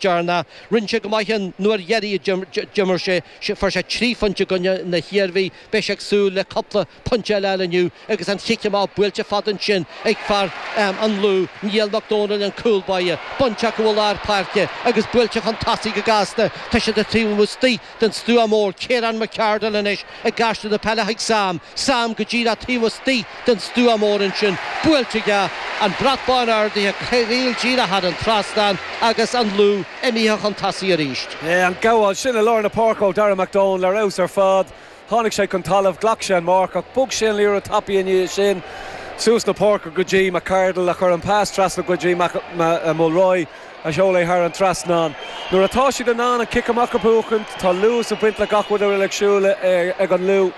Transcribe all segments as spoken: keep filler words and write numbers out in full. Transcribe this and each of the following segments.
deireanach. Rinne sé go maith an uair dheiridh a d'imir sé, fuair sé trí phointe i gcoinne na hIarmhí. Beidh sé ag súil le cúpla pointe eile a fháil inniu agus an chic amach buailte fada ansin ag fear an Lú, Niall Mac Dónaill, an cúl báire. Bainte acu i lár páirce agus buailte chun tosaigh go gasta. Tá siad taobh istigh den stua mór. Ciarán McCardle anois ag aistriú na peile chuig Sam. Sam go díreach taobh istigh den stua mór ansin. Buailte aige, an brat bán ardaithe, caol díreach thar an trasnán agus an Lú imithe chun tosaigh arís. An gabháil sin i lár na páirce ó Darragh McDowell ar fheabhas ar fad. Tháinig sé chun talaimh, ghlac sé an marc ach bhog sé an liathróid tapaidh i ndiaidh sin suas na páirce go dtí McCardle a chuir an pas trasna go dtí Mulroy a sheol é thar an trasnán. Nuair atá siad in ann an cic amach a bhuachan, tá luas ag baint le gach rud a bhfuil ag siúl ag an Lú.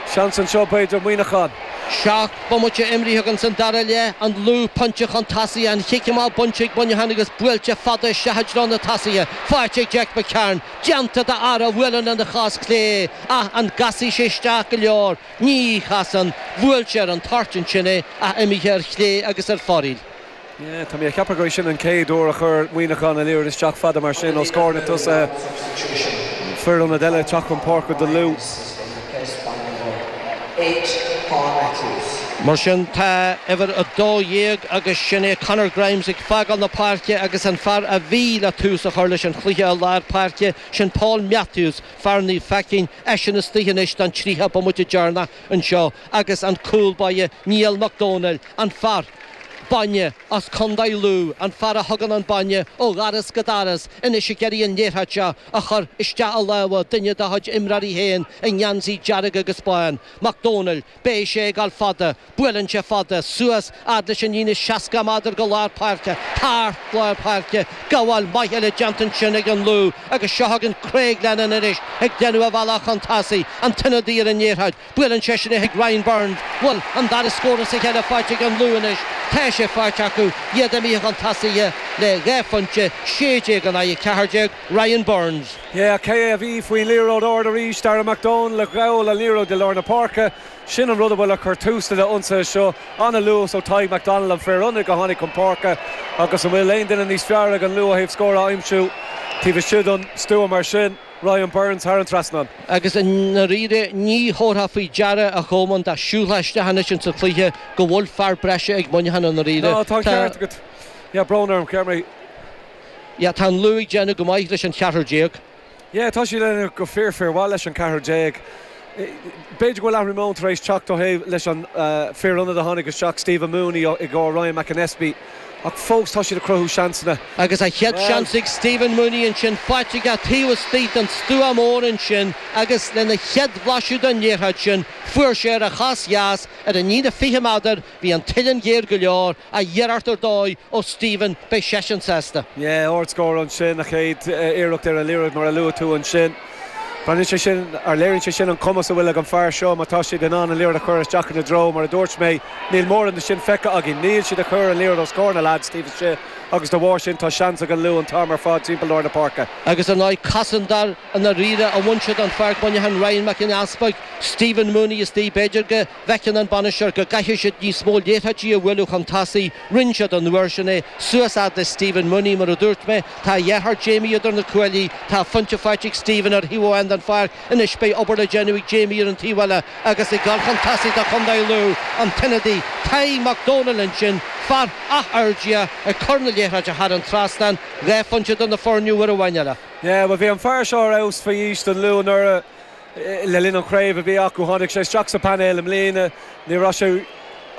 Seans anseo b'fhéidir Muineachán. Seacht bomaite imrithe againn san dara leath, an Lú pointe chun tosaigh, an chic amach bainte ag Muineachán agus buailte fada isteach i dtreo na tosaithe. Faighte ag Jack McCarron. Déanta d'fhear a bhuaileann lena chos clé ach an gcasfaidh sé isteach go leor? Ní chasann. Bhuail sé ar an toirt ansin é ach imithe ar chlé agus ar fóraoil. Yeah, tá mé ag ceapadh gur é sin an chéad uair a chuir Muineachán an liathróid isteach fada mar sin os comhair na tosaithe. Fear ionaid eile ag teacht chun páirce do Lú. Mar sin tá uimhir a dó dhéag agus sin é Conor Grimes ag fágáil na páirce agus an fear a bhí le tús a chur leis an chluiche i lár páirce, sin Paul Matthews, fear Naomh Faicín, eisean istigh anois don tríocha bomaite deireanach anseo agus an cúl báire Niall Mac Dónaill, an fear bainne as Contae Lú, an fear a thugann an bainne ó dhoras go doras, anois ag iarraidh an liathróid seo a chur isteach i lámha duine dá chuid imreoirí féin i ngeansaí dearg agus bán. Mac Dónaill, beidh sé ag dul fada, buaileann sé fada, suas fhad leis an líne seasca méadar go lár páirce, thar lár páirce, gabháil mhaith eile déanta ansin ag an Lú agus seo chugainn Craig Lennon anois ag déanamh a bhealach chun tosaigh, an t-ionadaí ar an liathróid, buaileann seisean é chuig Ryan Burns, bhuel, an dara scór as a chéile faighte ag an Lú anois, tá sé faighte acu, iad imithe chun tosaigh le dhá phointe, sé déag in aghaidh a ceathair déag, Ryan Burns. Yeah, cé a bhí faoin liathróid ard arís, Darragh McDonald a ghabháil an liathróid i lár na páirce. Sin an rud a bhfuil a chur tús le ionsaithe seo. An-luas ó Tadhg McDonald an fear ionaid a tháinig chun páirce agus an bhfuil aon duine níos fearr ag an Lú ó thaobh scór a aimsiú taobh istigh den stua mar sin, Ryan Burns thar an trasnán. Agus i ndáiríre ní thabharfá faoi deara a Cholmáin dá siúlfá isteach anois insa chluiche go bhfuil fear breise ag Muineachán i ndáiríre. Ná, tá an ceart agat. Yeah, brón orm, cheap mé. Yeah, tá an Lú ag déanamh go maith leis an cheathrar déag. Yeah, tá siad ag déanamh go fíor fíor mhaith leis an ceathrar déag. B'fhéidir go bhfuil athrú meoin tar éis teacht ó thaobh leis an fear ionaid a tháinig isteach, Stephen Mooney i gcomhair Ryan McAnespie, ach fós tá siad ag cruthú seansanna. Agus a chéad seans ag Stephen Mooney ansin, faighte aige taobh istigh den stua mór ansin agus lena chéad bhlaiseadh den liathróid sin, fuair sé ar a chos dheas ar an líne fiche méadar, bhí an t-uillinn géar go leor, ach iarracht ar dóigh ó Stephen, beidh seisean sásta. Yeah, ardscór ansin, a chéad iarracht ar an liathróid mar a luaigh tú ansin. Baineann sé sin, ar léiríonn sé sin an cumas a bhfuil ag an fear seo má tá siad in ann an liathróid a chur isteach ina dtreo, mar a dúirt mé, níl mórán de sin feicthe againn. Níl siad ag cur an liathróid os comhair na leaids taobh istigh agus de bharr sin tá seans ag an Lú an t-am ar fad timpeall lár na páirce. Agus ar ndóigh cosantóir i ndáiríre a bhain siad an pháirc Muineachán Ryan Mac an Easpaig, Stephen Mooney istigh, b'fhéidir go bhfeiceann an bainisteoir go gcaithfidh siad níos mó liathróidí a bhualadh chun tosaigh. Rinne siad an uair sin é. Suas fhad le Stephen Mooney, mar a dúirt mé. Tá a dheartháir Jamie idir na cuaillí. Tá pointe faighte ag Stephen ar thaobh amháin den pháirc. Anois beidh obair le déanamh ag Jamie ar an taobh eile agus ag dul chun tosaigh do Chontae Lú, an t-ionadaí Tadhg Mac Dónaill ansin, fear Áth Fheirdia, ag cur na liathróide thar an trasnán. Dhá phointe do na foirne uair amháin eile. Yeah, bhuel bhí an fear seo ar fheabhas faoi aois don Lú anuraidh. Le linn an chraobh a bhí acu, tháinig sé isteach sa painéal i mbliana. Ní raibh sé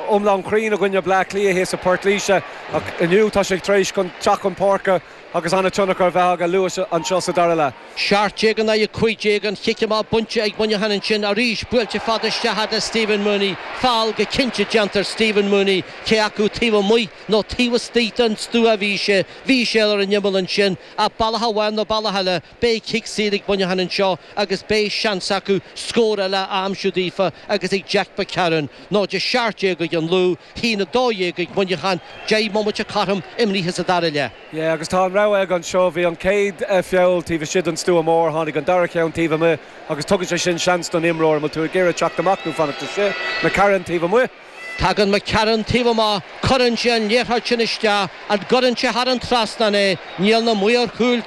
iomlán cruinn i gcoinne Bleá Cliath thíos i Port Laoise ach inniu tá sé tar éis teacht chun páirce agus an-tionchar a bheith aige luath anseo sa dara leath. Seacht déag in aghaidh a cúig déag, an chic amach bainte ag Muineachán ansin arís, buailte fada isteach fhad le Stephen Mooney. Feall go cinnte déanta ar Stephen Mooney, cé acu taobh amuigh nó taobh istigh den stua a bhí sé. Bhí sé ar an imeall ansin ach bealach amháin nó bealach eile, Beidh cic saor ag Muineachán anseo agus beidh seans acu scór eile a aimsiú daofa agus ag Jack McCarron. Náid a seacht déag ag an Lú, haon a dó dhéag ag Muineachán, deich mbomaite cothrom imrithe sa dara leath. Yeah, agus tá an rogha aige anseo. Bhí an chéad feall taobh istigh den stua mór, tháinig an dara ceann taobh amuigh agus tugann sé sin seans don imreoir, an bhfuil tú ag iarraidh teacht amach nó fanacht istigh? McCarron taobh amuigh. Tagann McCarron taobh amuigh cuireann sé an liathróid sin isteach an gcuireann sé thar an trasnán é níl na maoir chúil